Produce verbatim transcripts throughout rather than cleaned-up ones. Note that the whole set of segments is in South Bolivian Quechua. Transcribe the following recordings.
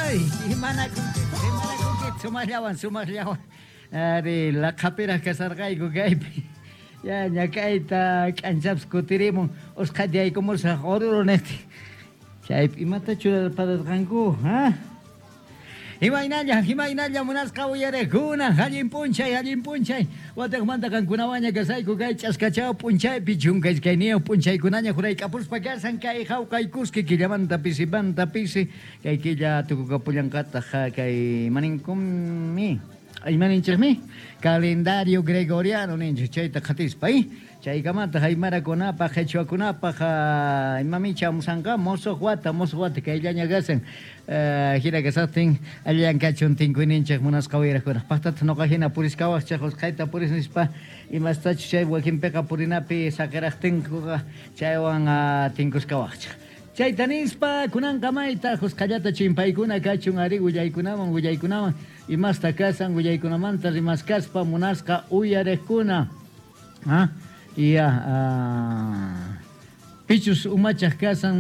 Ay, imanakunkichej, imanakunkichej, sumaqllawan, sumaqllawan. Ari, laqhapiraq kasarqayku kaypi. Ya ñak'ayta k'anchapis kutirimun, usqhayta yaykumusaq Oruro niqtin. Chaypi imata churarpararqanku, ha? Imaynalla, imaynalla munasqa uyariqkuna, allin p'unchay, allin p'unchay. Wataqmanta qankunawanña kasayku kay ch'askachaw p'unchaypi chunka iskayniyuq p'unchaykunaña jurayk'apuspa kasan kay jawqaykuski killamanta pisipanta pisi kay killa tukukapullanqataq kay imaninkunmi imaninchikmi calendario gregoriano ninchik chayta qhatispa eh chaykamataq aymarakunapaq qhichwakunapaq imami chamusanqa musuq wata musuq wata kayllaña kasan hina kasaqtin allillan kachun tinkuyninchik munasqa uyariqkuna paqtataq nuqa hina puriskawaqchik usqhayta puris nispa imastachus chay wakinpiqa purinapi saqiraqtinkuqa chaywan tinkuskawaqchik. Chayta nispa kunanqa mayta usqhayllata chimpaykuna kachun ari willaykunaman willaykunaman imasta kasan willaykunamanta rimaskaspa munasqa uyariqkuna. Ha? Ya, pichus umachaq kasan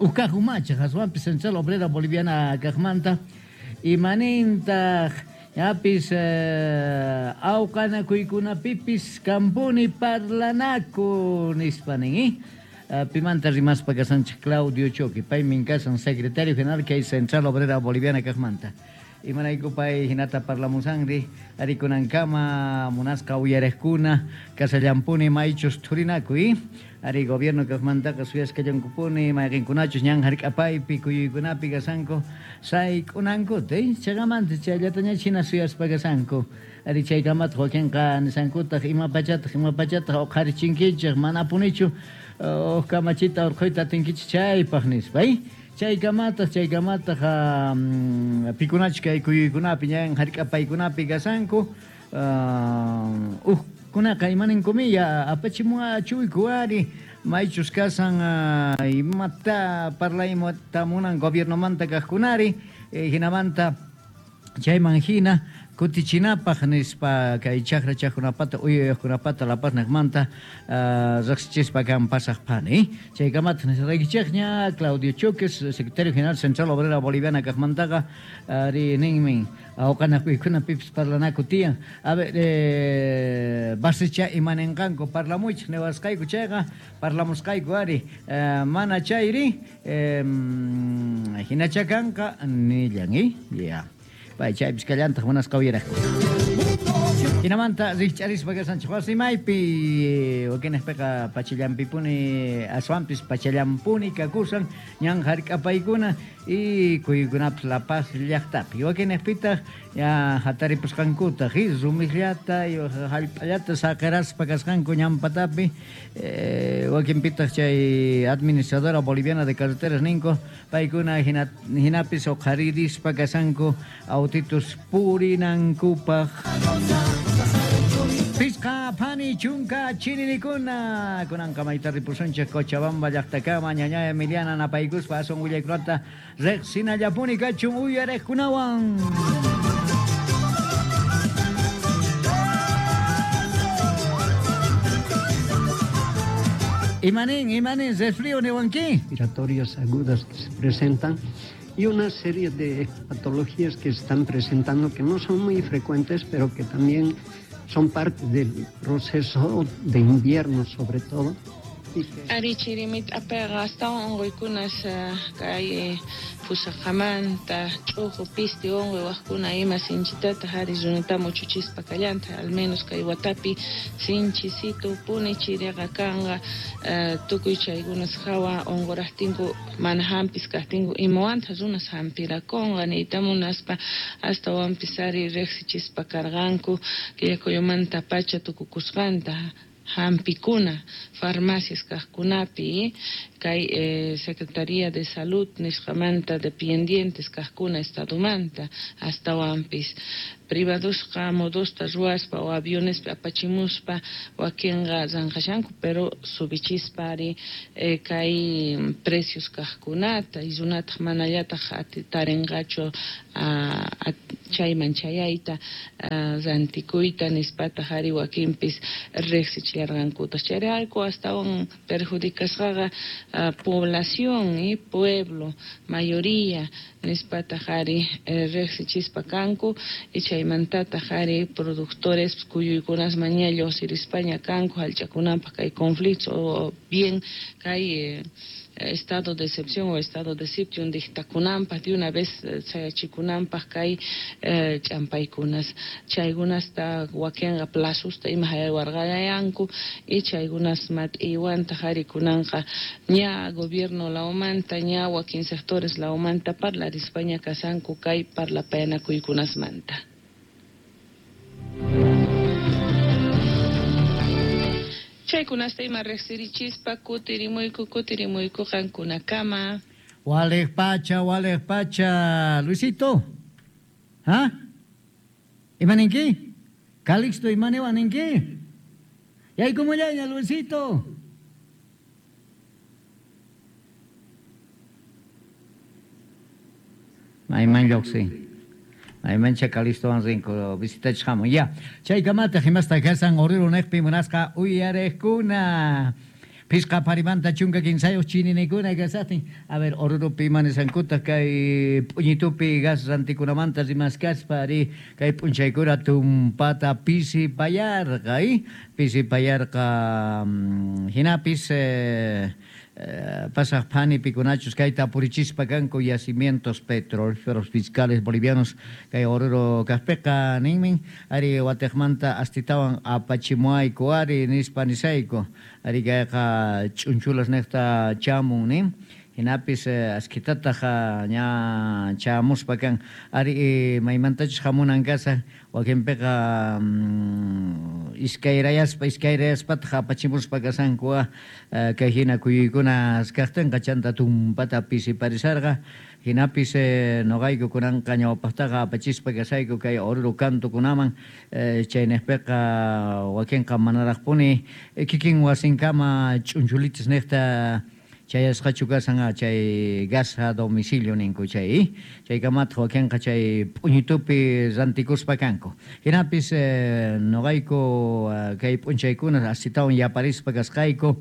uqkaq umachaq aswanpis Central Obrera Boliviana kaqmanta imanintaq yapis awqanakuykunapipis kampuni parlanaku nispa nin, eh? Pimanta rimaspa kasanchik Claudio Choque, paymin kasan secretario general kay Central Obrera Boliviana kaqmanta. Imarayku pay hinata parlamusanri arikunankama munasqa uyariqkuna kasallampuni maychus thurinaku, eh? Ari gobierno kaqmantaqa suyasqallankupuni mayqinkunachus ñan hark'apaypi kuyuykunapi kasanku sayk'unankuta, eh? Chaykamanta chayllataña hina suyaspa kasanku. Ari chaykamataq wakinqa nisankutaq ima pachataq ima pachataq uqharichinkichik manapunichu uq kamachita urqhuyta atinkichik chaypaq nispa, eh? Chaykamataq chaykamataq pikunachus kay kuyuykunapi ñan hark'apaykunapi kasanku uqkunaqa imaninkumiya apachimuwachuyku ari maychus kasan imata parlayta munan gobiernomanta kaqkunari hinamanta chayman hina kutichinapaq nispa kay chakra chakkunapata uyayuqkunapata La Paz niqmanta riqsichispa kan pasaq phani. Chaykamataq nisqaykichikña Claudio Choques, secretario general Central Obrera Boliviana kaqmantaqa ari ninmin awqanakuykunapipis parlanaku tiyan. A ver, eh, basicha imaninqanku parlamuychik niwasqayku chayqa parlamusqayku ari mana chayri eh, hinacha kanqa nillan, eh? Ya. Pay chaypis kallantaq munasqa uyaraqku. Hinamanta rikch'arispa kasanchik wasimaypi wakinaqpiqa pachallampipuni aswanpis pachallampuni kakusan ñan hark'apaykuna y kuyuykunapis La Paz llaqtapi wakinaqpitaq ya hataripusqankutaq rumikllata hallp'allata saqiraspa kasqanku ñanpatapi eh, wakinpitaq chay administradora boliviana de carreteras ninku paykuna hina, hinapis uqharirispa kasanku autitus purinankupaq. Pisqa phani chunka chinilikuna kunanqa mayta ripusunchik Cochabamba llaqtakama ñaña Emiliana napaykuspa aswan willaykunata riqsinallapuni kachun uyariqkunawan. Imanin, imanin, resfrío niwanki. Respiratorias agudas que se presentan y una serie de patologías que se están presentando que no son muy frecuentes, pero que también son parte del proceso de invierno, sobre todo. Ari chirimit apeqa astawan unquykunas kay pusaqamanta ch'uqu pisti unquy waqkuna ima sinchitataq ari runata muchuchispa kallanta al menos kay watapi sinchisito puni chiriqa kanqa tukuy chaykunas hawa unquraqtinku mana hampis kaqtinku imawanta runas hampirakunqa niyta munaspa astawanpis ari riqsichispa karqanku killakuyumanta pacha tukukusqanta hampikuna farmacias kaqkunapi kay eh, Secretaría de Salud nisqamanta dependientes kaqkuna estadomanta astawanpis privadosqa modosta ruwaspa o avionespi apachimuspa wakinqa ranqashanku pero subichispa ari eh, kay precios kaqkunata y runataq manallataq tarinqachu chayman chayayta rantikuyta nispataq ari wakinpis riqsichillarqankutaq chayrayku astawan perjudicasqaqa población y pueblo mayoría nispataq ari riqsichispa kanku y chaymantataq ari productores kuyuykunas maña lluqsirispaña kanku hallch'akunanpaq kay conflicto o bien kay eh, estado de excepción o estado de sitio dictakunanpaq de una vez sayachikunanpaq kay eh, ch'ampaykunas chaykunasta wakinqa plazusta ima haywarqayanku y chaykunas mat'iwantaq ari kunanqa ña gobierno lawmanta ña wakin sectores lawmanta parlarispaña kasanku kay parlapayanakuykunasmanta. Chaykunasta ima riqsirichispa kutirimuyku kutirimuyku qankunakama. Walej pacha, walej pacha, Luisito. ¿Ah? ¿Imaninki? Calixto imanewaninki? Yaykumullaña, Luisito. Mayman lluqsin. Maymancha Calixto rinko visitachhamun. Ya. Chaykamata himasta kasan Oruro neqpi munasqa uyariqkuna. Pisqa parimanta chunka kinsayuq chininikuna kasatin. A ver, Oruropi manisankuta kay p'uñitupi gas rantikunamanta rimaskaspa ari kay p'unchaykuna tumpata pisi payarqa, eh? Pisi payarqa hinapis eh, Eh, pasaq phani pikunachus kayta purichispa kanku yacimientos petrolíferos fiscales bolivianos kay Oruro kaqpiqa ninmin ari watiqmanta astitawan apachimuayku ari nispa nisayku ari kayqa ch'unchulas niqta chamun nin hinapis eh, askitataq ña chamuspa kan ari eh, maymantachus hamunan kasa wakinpiqa mm, iskayrayaspa iskayrayaspataq apachimuspa kasanku eh, kay hina kuyuykunas kaqtinqa chanta tumpata pisiparisarqa hinapis eh, noqayku kunanqa ñawpaqtaqa apachispa kasayku kay Oruro kantukunaman eh, chaynejpiqa wakinqa manaraqpuni eh, kikin wasinkama ch'unchulitas niqta chayasqachu kasan chay gas a domicilio ninku chay chaykamataq wakinqa chay p'uñitupi rantikuspa kanku hinapis eh, noqayku kay p'unchaykuna astitawan yaparispa kasqayku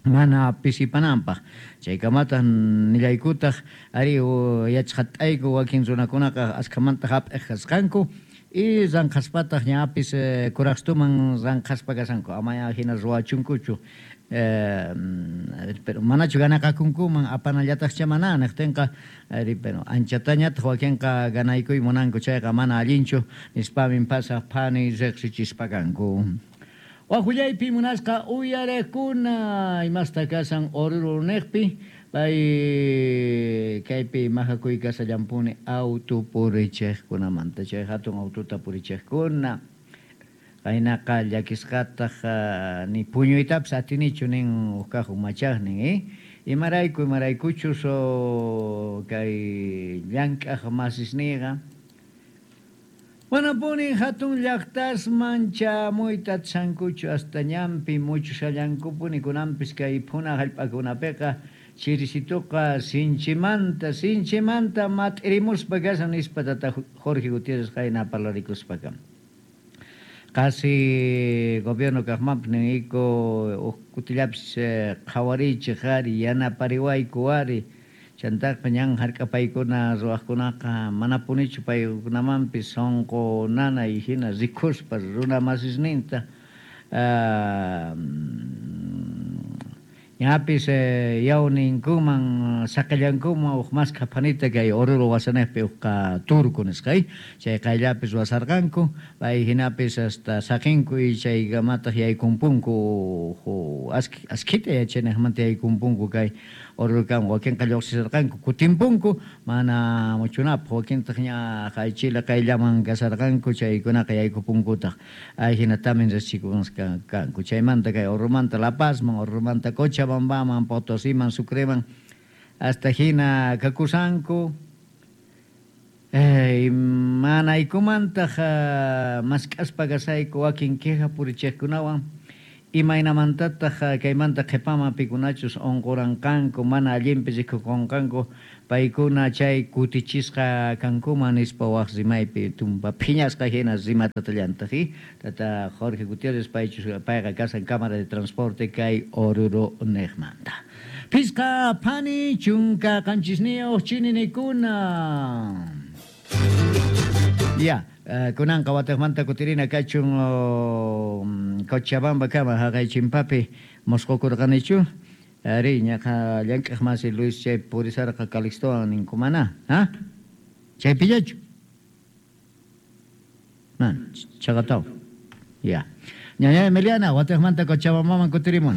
mana pisipananpaq chaykamataq nillaykutaq ari yachqat'ayku wakin runakunaqa askhamanta hap'iq kasqanku y ranqhaspataq ñapis eh, kuraqstuman ranqhaspa kasanku amaya hina ruwachunkuchu Eh, pero manachu ganaqakunkuman apanallataqcha mana niqtinqa ari pero anchatañataq wakinqa ganaykuy munanku chayqa mana allinchu nispamin pasaq phani riqsichispa kanku. Wajullaypi munasqa uyariqkuna imasta kasan Oruro niqpi pay kaypi majakuy kasallampuni auto purichiqkunamanta chay hatun autota purichiqkuna qaynaqa llakisqataq ni puñuytapis atinichu nin huk kaq umachaqnin eh imarayku imaraykuchus kay llank'aq masisniyqa manapuni hatun llaqtasman chamuyta atishankuchu hasta ñanpi muchushallankupuni kunanpis kay phuna hallp'akunapiqa chirisituqa sinchimanta sinchimanta mat'irimuspa kasan nispa tata Jorge Gutiérrez qayna parlarikuspaqa. Casi gobierno kaqmanpis niyku huk kutillapis qhawarichik ari yanapariwayku ari chantaqa ñan hark'apaykuna ruwaqkunaqa manapunichu paykunamanpis sunqu nanay hina rikuspa runa masisninta ñapis eh, yawninkuman saqillankuman huk maskha phanita kay Oruro wasanejpi hukqa turku nisqa chay qayllapis ruwasarqanku pay hinapis hasta saqinku y chaykamataq yaykumpunku askhita yachanejmanta yaykumpunku kay Oruro kan wakinqa lluqsisarqanku kutimpunku mana muchunapaq wakintaq ña qaychila qayllaman kasarqanku chaykunaqa yaykupunkutaq ay hinatamin riqsikusqa kanku chaymanta kay Oruromanta La Pazman Oruromanta Cochabambaman Potosiman Sucreman hasta hina kakusanku eh, manaykumantaq mask'aspa kasayku wakin queja purichiqkunawan Imaynamantataq kaymanta qhipaman pikunachus unquranqanku mana allinpi rikukunqanku paykuna chay kutichisqa kankuman nispa waq rimaypi tumpa phiñasqa hina rimatatallantaq tata Jorge Gutiérrez paychus payqa kasan Cámara de Transporte kay Oruro niqmanta. Phisqa phani chunka qanchisniyuq chininikuna. Ya, uh, kunanqa wataqmanta kutirina kachun uh, Cochabamba kama haqay chimpapi mosqokurqanichu. Ari ñaqa llank'aq masi Luis chay purisarqa Calixtowan ninkumana, ha? Chaypillachu? Man, chaqataw. Ya. Ñaña Emiliana, wataqmanta Cochabambaman kutirimun.